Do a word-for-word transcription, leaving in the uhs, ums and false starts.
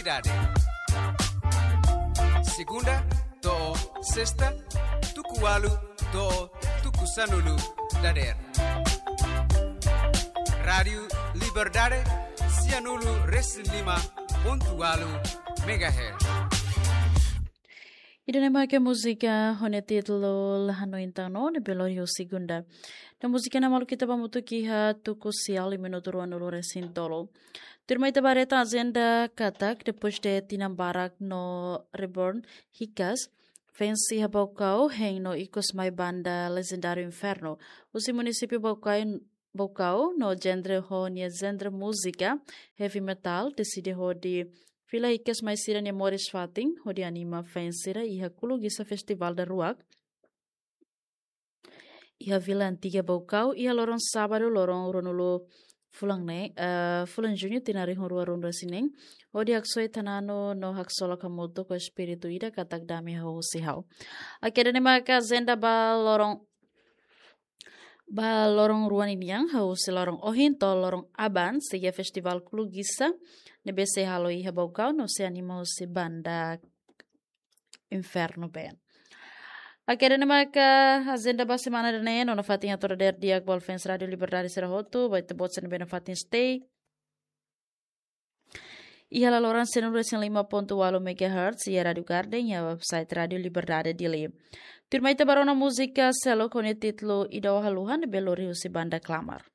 Dade. Segunda to'o sesta, tuku ualu to'o tuku sanulu dadeer. Rádiu Liberdade, sianulu resin lima pontu ualu megahertz. Ida-ne'e mak múzika ho nia títulu La Hanoin Tan No, ne'ebé lori ho segunda. No múzika ne'e maluk ita ba hamutuk iha tuku sia, minutu ruanulu resin tolu. Tuirmai ita ba haree tan ajenda katak, depois de tinan barak no Reborn hikas, fans iha Baucau hein no ikus mai banda legendáriu Inferno. Husi munisípiu Baucau, Baucau no genre ho nia genre múzika heavy metal, deside hodi fila hikas mai sira-nia moris fatin, hodi anima fans sira iha Kuluguisa Festival Daruak iha Vila Antiga Baucau, iha loron sábadu, loron ruanulu fulan ne'e, eh, fulan Juñu tinan rihun rua ruanulu resin neen, hodi haksoit tananu no haksolok hamutuk ho espíritu ida katak dame hahú husi ha'u. Oke, ida-ne'e mak ajenda ba loron, ba loron rua ninian, hahú husi loron ohin to'o loron aban, sei iha Festival Kuluguisa, ne'ebé sei halo iha Baucau, no sei anima husi banda Inferno Band. Oke, ida-ne'e mak ajenda ba semana ida-ne'e, no nafatin hato'o dadeer di'ak ba fans Rádiu Liberdade sira hotu, ba ita-boot sira ne'ebé nafatin stay iha laloran sianulu resin lima pontu ualu megahertz, iha Rádiu Garden, iha website Rádiu Liberdade Dili. Tuirmai ita ba rona múzika seluk ho nia títulu Ida Ó Haluha, ne'ebé lori husi banda Klamar.